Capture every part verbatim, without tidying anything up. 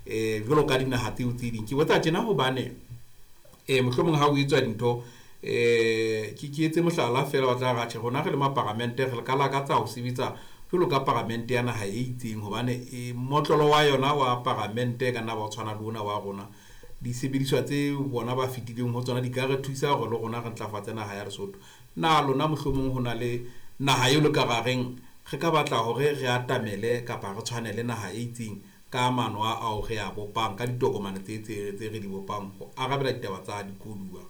um jwalo ka dinaha tseo tse ding. Ke botsa tjena hobane um mohlomong ha o etswa dintho, um ke ke etse mohlala fela, wa tla re atjhe rona re le maparamente re ka lakatsa ho sebetsa jwalo ka paramente ya naha e itseng, hobane motlolo wa yona wa paramente ka nna ba o tshwana le ona wa rona. Disebediswa tse bona ba fetileng ho tsona di ka re thusa hore le rona re ntlafatse naha ya Lesotho. Na lona mohlomong ho na le naha eo le ka ra reng re ka batla hore re atamele kapa re tshwane le naha e itseng ka maano a ao re a bopang ka ditokomane tse tse tse re di bopang ho arabela ditaba tsa dikoduwa?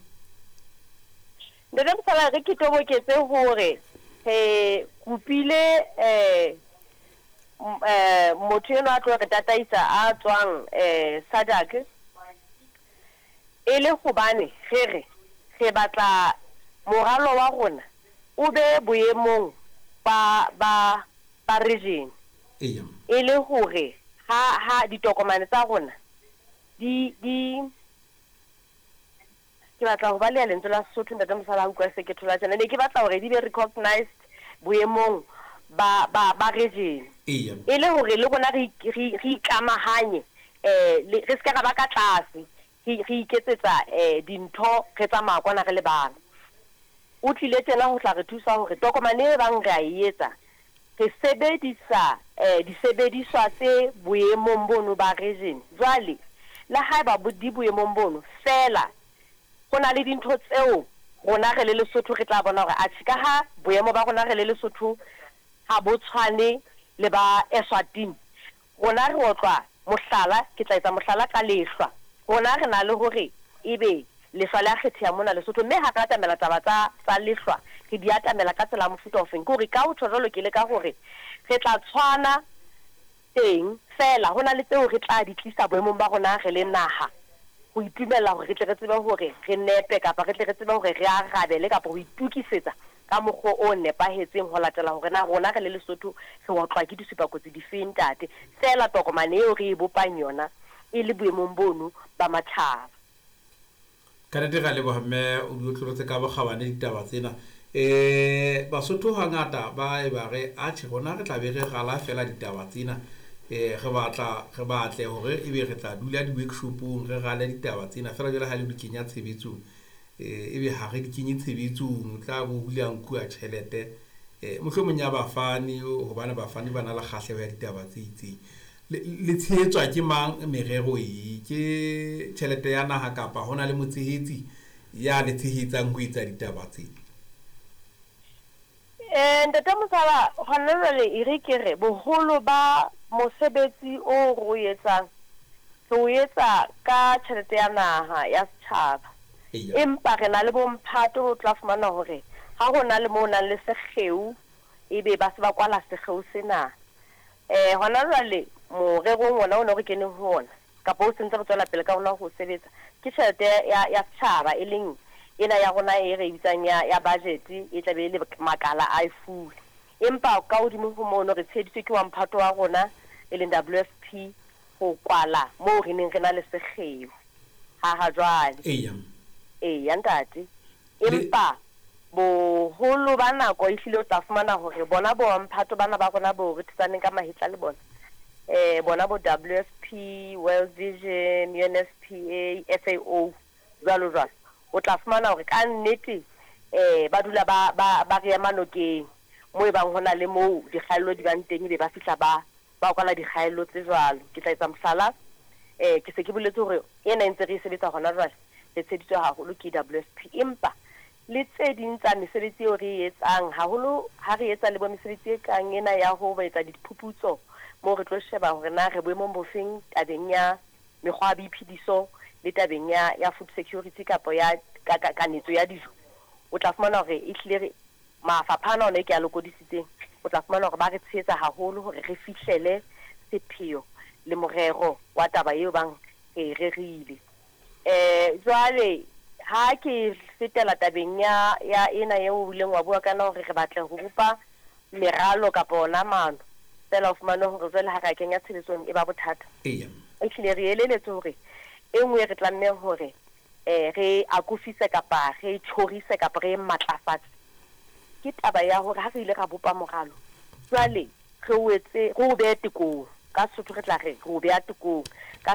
Ntate Mosala, re ke toboketse hore re kopile um motho enwa a tlo re tataisa a tswang um SADC, e le hobane re re re batla moralo wa rona o be boemong ba ba ba region, Eya. e le hore ha ha ditokomane tsa rona di di ke batla ho baleha lentswe la Sesotho, ntate Mosala, ha utlwa se ke thola tjena, ne ke batla hore di be recognized boemong ba ba ba region, Eya. e le hore le rona re re re ikamahanye, eh le re ska ra ba ka tlase, re re iketsetsa eh dintho, re tsamaya kwana re le bang. O tlile tjena ho tla re thusa hore tokomane e bang re a e etsa re sebedisa eh disebediswa tse boemong bono ba region. Jwale le haeba bo di boemong bono fela, ho na le dintho tseo rona re le Lesotho re tla bona hore atjhe, ka ha boemo ba rona re le Lesotho ha bo tshwane le ba Eswatini, rona re otlwa, mohlala, ke tla etsa mohlala ka lehlwa. Rona re na le hore ebe lehlwa le a kgetheha mona Lesotho, mme ha re atamela taba tsa tsa lehlwa re di atamela ka tsela ya mofuta ofeng. Ke hore ka ho tjho jwalo, ke leka hore re tla tshwana teng fela, ho na le tseo re tla di tlisa boemong ba rona re le naha ho itumella hore re tle re tsebe hore re nepe, kapa re tle re tsebe hore re arabele kapa ho itukisetsa ka mokgwa o nepahetseng ho latela hore na rona re le Lesotho re otlwa ke disupakotsi difeng, ntate. Fela tokomane eo re e bopang yona e le boemong bono ba matjhaba. Ka nnete re a leboha mme, o di otlolotse ka bokgabane ditaba tsena. um Basotho hangata ba e ba re atjhe rona re tla be re rala fela ditaba tsena, um re batla re batle hore ebe re tla dula di-workshopong re rale ditaba tsena fela, jwale ha le di kenya tshebetsong, um ebe ha re di kenye tshebetsong, tla bo hula nkuwa tjhelete um mohlomong ya bafani, hobane bafani ba na le kgahleho ya ditaba tse itseng. Le tshehetswa ke mang merero e? Ke tjhelete ya naha kapa hona le motshehetsi ya le tshehetsang ho etsa ditaba tse? Eh ntate Mosala, hona jwale e re ke re boholo ba mosebetsi o re o etsang re o etsa ka tjhelete ya naha ya setjhaba. Eya. Empa re na le bomphato, o tla fumana hore ha ho na le mo o nang le sekgeo, ebe ba se ba kwala sekgeo sena. Eh hona jwale morerong ona o ne re keneng ho ona, kapa o sentse re tswela pele ka ona ho sebetsa, ke tjhelete ya ya setjhaba, e leng ena ya rona e re bitsang ya ya budget, e tlabe e le makala a e fuwe. Empa ka hodimo ho mono re tsheheditswe ke wa mphato wa rona e leng W F P ho kwala moo re neng re na le sekgeo ha ha jwale. Eya. Eya ntate. Empa boholo ba nako ehlile o tla fumana hore bona bo mphato bana ba rona bo re thusaneng ka mahetla le bona, eh bona bo W F P, World Vision, U N F P A, F A O jwalo jwalo, o tla fumana hore ka nnete eh ba dula ba ba ba re ema nokeng mo e bang hona le moo dikgaello di bang teng, ebe ba fihla ba ba kwala dikgaello tse jwalo. Ke tla etsa mohlala, eh ke se ke boletse hore ena e ntse re e sebetsa hona jwale, re tsheditswe haholo ke W F P, empa le tse ding tsa mesebetsi eo re e etsang haholo ha re etsa le bo mesebetsi e kang ena ya ho etsa diphuputso moo re tlo sheba hore na re boemong bofeng tabeng ya mekgwa ya boiphediso le tabeng ya ya food security kapa ya kanetso ya dijo, o tla fumana hore ehlile re mafapha ana ona e ke a lokodisitseng, o tla fumana hore ba re tshehetsa haholo hore re fihlele sepheo le morero wa taba eo bang re rerile. Eh jwale ha ke fetela tabeng ya ya ena eo o ileng wa bua kana hore re batla ho bopa meralo kapa ona maano, fela o fumane hore jwale ha re a kenya tshebetsong e ba bothata. Eya. Ehlile re eleletswe hore e nngwe re tlamehang hore eh re akofise kapa re tjhorise kapa re matlafatse ke taba ya hore ha re ile ra bopa moralo, jwale re o etse re o behe tekong. Ka Sesotho re tla re re o beha tekong, ka